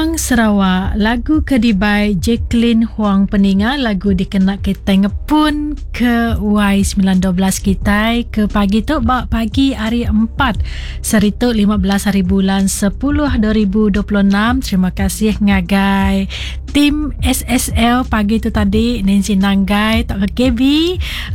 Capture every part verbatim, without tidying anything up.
Kumang Sarawak, lagu ke dibai Jacqueline Huang peninga, lagu dikena kitai ngepun ke Y sembilan dua belas kitai ke pagi tu ba pagi hari empat saritu lima belas hari bulan sepuluh dua ribu dua puluh enam. Terima kasih ngagai tim S S L pagi tu tadi, Nancy Nanggai, Tok K B,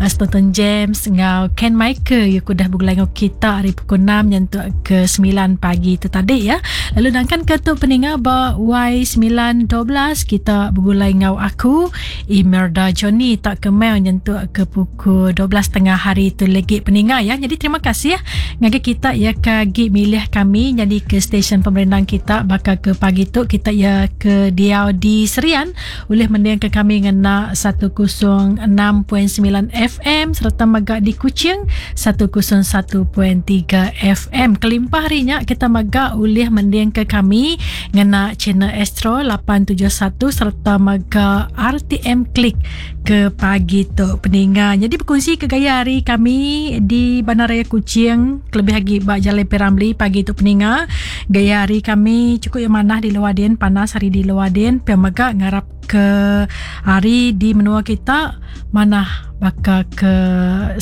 Stanton James ngau Ken Michael yang udah bergulai ngau kita hari pukul enam nyentuk ke sembilan pagi tu tadi ya. Lalu nangkan ke tu peninga ba Y sembilan dua belas kita bergulai ngau aku Imelda Johnny tak kemel nyentuk ke pukul dua belas tengah hari tu lagi peninga ya. Jadi terima kasih ngagai kita ya ke gi milih kami jadi ke stesen pemerindang kita bakal ke pagi tu kita ya ke diau di Serian boleh mendengar ke kami ngena seratus enam perpuluhan sembilan F M serta megak di Kuching seratus satu perpuluhan tiga F M. Kelimpah harinya kita megak boleh mendengar ke kami ngena channel Astro lapan tujuh satu serta megak R T M Klik ke pagi tu peninga. Jadi berkongsi ke gaya hari kami di Bandaraya Kuching, kelebih lagi bak Jalan Piramli pagi tu peninga. Gaya hari kami cukup yang manah di luar din, panas hari di luar din. Pia megak ngarap ke hari di menua kita manah baka ke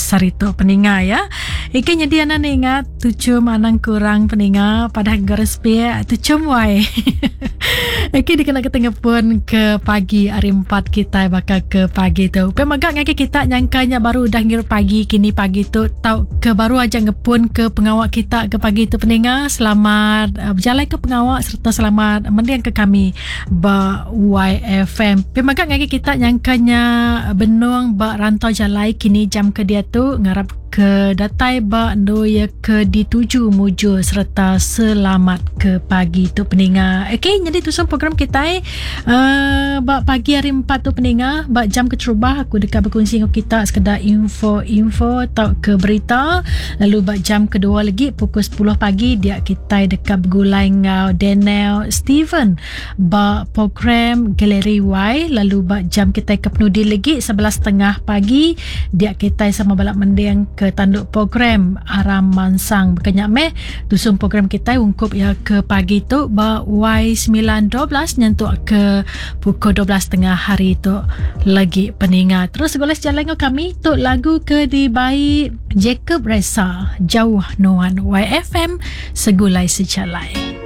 sarito peninga ya. Ikan jadi anak ingat tujuh manang kurang peninga pada garis pia tujuh wai. Okey dikena ketengah pun ke pagi hari empat kita bakal ke pagi tu. Pemagak ngaki kita nyangkanya baru dah ngirup pagi kini pagi tu tau ke baru aja ngepun ke pengawak kita ke pagi tu peninga. Selamat uh, berjalan ke pengawak serta selamat mendiang ke kami ba Y F M. Pemagak ngaki kita nyangkanya benung ba rantau jalai kini jam ke dia tu ngarap ke datai ba ndo ya ke dituju mujur serta selamat ke pagi tu peninga. Okey, jadi tu program kita uh, ba pagi hari empat tu peninga, ba jam keterubah aku dekat berkongsi dengan kita sekedar info-info atau ke berita. Lalu ba jam kedua lagi pukul sepuluh pagi dia kita dekat bergulai ngau Daniel Steven ba program Galeri Y. Lalu ba jam kita ke penudi lagi sebelas tiga puluh pagi dia kita sama balak mending ke tanduk program Aram Mansang. Berkenyak meh tusung program kita ungkup ya ke pagi tu ba Y sembilan dua belas nyentuk ke pukul dua belas tengah hari tu lagi peninga. Terus goles jalan dengan kami tu lagu ke dibai Jacob Ressa Jauh Nuan. Y F M Segulai Sejalai.